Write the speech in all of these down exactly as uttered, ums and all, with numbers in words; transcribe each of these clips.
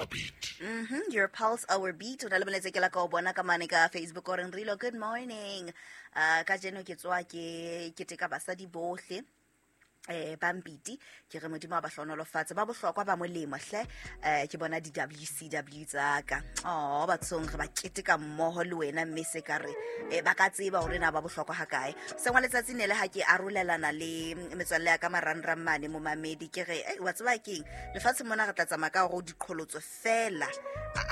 beat. Mm-hmm. Your pulse, our beat. O na le molaetsa ke la ka o bona ka mane ka Facebook o reng Rilo, good morning. Uh, kajeno ke tswa ke keteka basadi bohle. Eh, Bambiti ke re Modimo a ba hlohonolofatse, ba bohlokwa ba molemo hle. Eh, ke bona di W C W tsa ka. Oh, bathong re ba keteka mmoho le wena, mme se ka re, eh, ba ka tseba hore na ba bohlokwa ha kae. Sengwe letsatsi ne le ha ke arolelana le metswalle ya ka marangrang mane momamedi, ke re, eh, wa tseba keng, lefatshe mona re tla tsamaya ka hore diqholotso fela.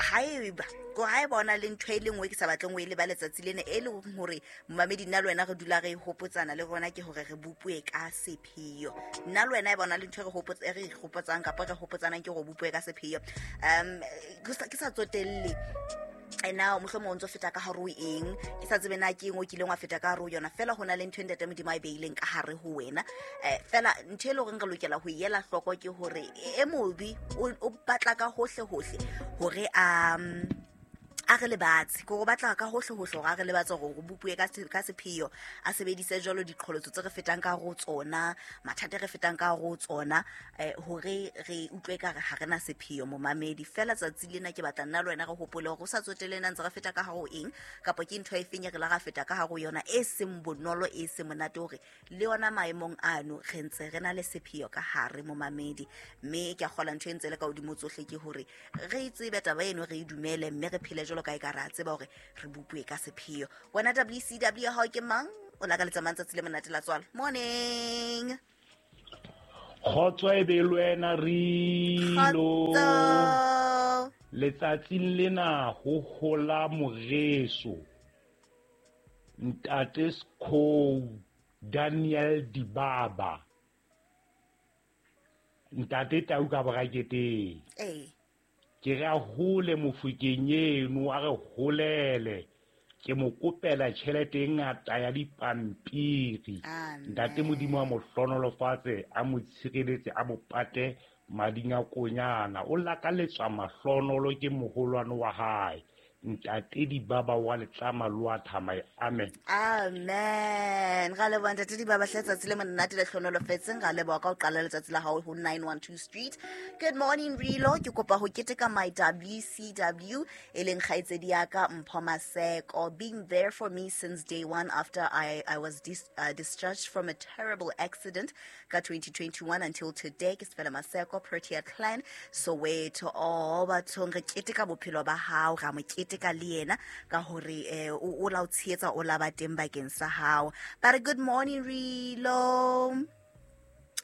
Haeba ko ha e bona le ntho e le nngwe ke sa batleng ho e leba letsatsi lena, e leng hore momamedi nna le wena re dula re hopotsana le rona, ke hore re bopuwe ka sepheo. Nna le wena e bona le ntho e re hopotsa, e re hopotsang kapa re hopotsanang ke hore bopuwe ka sepheo. Um, ke sa, ke sa tsotelle e na mohlomong o ntso feta ka hare ho eng, ke sa tsebe na ke eng o kileng wa feta ka hare ho yona, fela ho na le ntho e Ntate Modimo a e beileng ka hare ho wena. Eh, fela ntho e leng hore re lokela ho e ela hloko ke hore e mobe o, o batla ka hohle hohle hore a, a re lebatse, ke hore o batla ka hohle hohle hore a re lebatse hore o bopuwe ka se-, ka sepheo, a sebedise jwalo diqholotso tse re fetang ka hare ho tsona, mathata e re fetang ka hare ho tsona, eh, hore re utlwe ekare ha re na sepheo momamedi. Fela tsatsi lena ke batla nna le wena re hopole hore o sa tsotelle na ntse re feta ka hare ho eng, kapa ke ntho e feng e re la ra feta ka hare ho yona e seng bonolo, e seng monate, hore le yona maemong ano re ntse re na le sepheo ka hare momamedi. Mme ke a kgolwa ntho e ntse le ka hodimo tsohle ke hore re tsebe taba eno, re e dumele, mme re phele jwalo ka e ka re a tseba hore re bopuwe ka sepheo. Wena W C W ya hao ke mang? O lakaletsa mang tsatsi le monate la tswalo? Morning. Kgotso e be le wena, Rilo. Kgotso. Letsatsing lena ho hola moreso Ntate Skhou Daniel Dibaba, Ntate Tau ka braketeng. Ee. Ke re a hole mofokeng eno, a re holele. Ke mo kopela tjhelete e ngata ya dipampiri. Amen. Ntate Modimo a mo hlohonolofatse, a mo tshireletse, a mo pate mading a konyana. O lakaletswa mahlohonolo ke moholwane wa hae. Ntate Dibaba wa Letlama le wa Thamae. Amen. Amen. Ra leboha Ntate Dibaba hle, tsatsi le monate le hlohonolofetseng. Ra leboha ka ho qala letsatsi la hao ho nine one two Street. Good morning Rilo, ke kopa ho keteka my W C W e leng kgaitsedi ya ka Mpho Maseko, being there for me since day one after I, I was dis-, uh, discharged from a terrible accident ka twenty twenty-one until today. Ke Sefela Maseko, Protea Clan, Soweto. Oh, bathong re keteka bophelo ba hao, ra mo keteka ka le yena ka hore, eh, o, o la o tshehetsa, o la ba teng bakeng sa hao. Ba re good morning Rilo.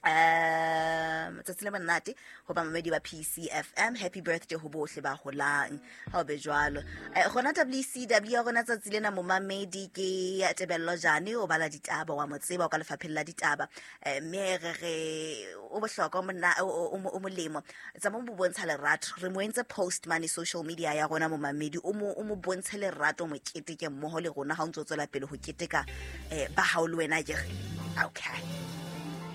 Um, tsatsi le monate ho ba mamedi ba P C F M. Happy birthday ho bohle ba holang. Ha o be jwalo. Eh, rona W C W ya rona tsatsi lena momamedi ke Tebello Jane, o bala ditaba, wa mo tseba, o ka lefapheng la ditaba. Eh, mme re re o bohlokwa monna, o, o, o, o molemo. Tsamao mo bontsha lerato. Re mo entse post mane social media ya rona momamedi, o mo, o mo bontshe lerato, mo keteke mmoho le rona ha o ntso tswela pele ho keteka, eh, ba hao le wena akere. Okay.